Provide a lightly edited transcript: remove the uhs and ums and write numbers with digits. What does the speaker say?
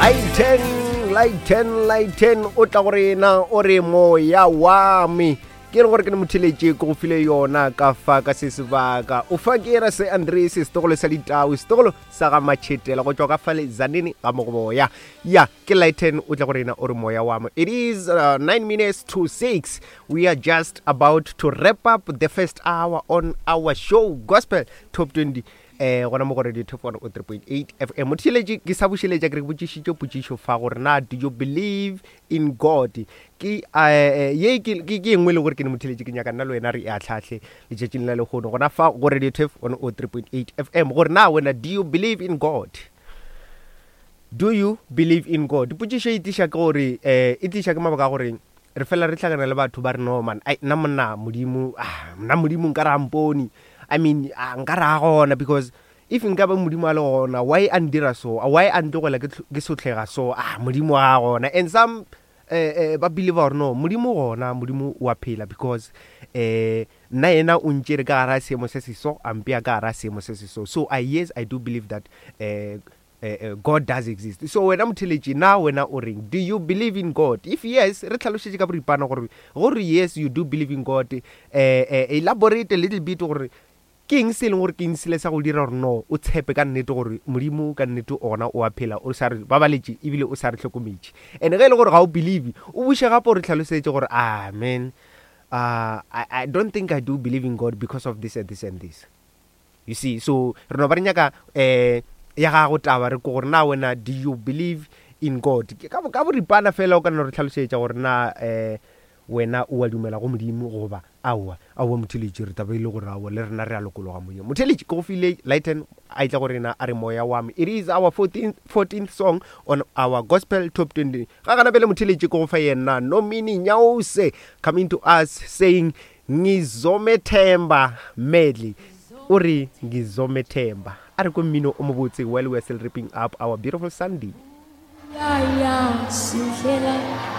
Lighten, lighten, lighten o tla go rena o re moya wa me ke le gore ke ne motheletše ke go file yona ka fa ka se sebaka o fa ke era se andre se setogolo sa ditau setogolo sa ga matšhetela go tšwa ka fa lezanene ga mogoboya ya ke lighten o tla go rena o re moya wa me it is uh, 9 minutes to 6 we are just about to wrap up the first hour on our show gospel top 20 eh gona mo go radio top 103.8 fm motheletše ke sa bušeletša ke re botšišitše potšišo fa gore na do you believe in god ke eh, ye ke ke ke engwe le gore ke ne motheletše ke nyaka nna le wena re e atlhatlhe letšatšing la lehono gona fa go radio top 103.8 fm gore na wena do you believe in god do you believe in god potšišo e tliša ke gore um e tliša ke mabaka a gore re fela re hlakana le batho ba re no man ai nna monna modimo ah, nna modimo nka re ampone i mean ah, nka re a gona because if nka ba modimo a le gona why a ndira so why a ntlogela ke sotlhega so ah modimo a gona and some eh, eh, ba believe gore no modimo gona modimo wa phela because eh nna yena o ntšere ka gara seemo se se so a mpea ka gara seemo se se so so i yes i do believe that eh, eh, eh, god does exist so wena motheletši na wena o reng do you believe in god if yes re tlhalošetše ka boripana gore gore yes you do believe in god eh, eh, elaborate a little bit gore ke eng se e leng gore ke eng sele sa go dira gore no o tshepe ka nnete gore modimo ka nnete ona o a phela o sa re babaletše ebile o sa re hlokometše and ge e le gore ga o believe o buše gape o re tlhalosetše gore amen ah, uh, I, I don't think I do believe in God because of this and this and this. You see, so re no ba re nyaka eh ya gago taba re ko gore na wena do you believe in God? Ke ka ka boripana fela o ka no re tlhalosetša gore na eh wena o a dumela go Modimo goba aowa. Aowa motheletši re taba e le gore aowa le rena re a lokologa moyeng. Motheletši ke go file Lighten a etla go rena a re moya wa me. It is our 14th, 14th song on our gospel top 20. Ga gana bele motheletši ke go fa yena Nomini Nyause coming to us saying Ngizomethemba Medley o re Ngizomethemba. A re kwe mmino o mobotse while we are still wrapping up our beautiful Sunday. Ya ya sihlela.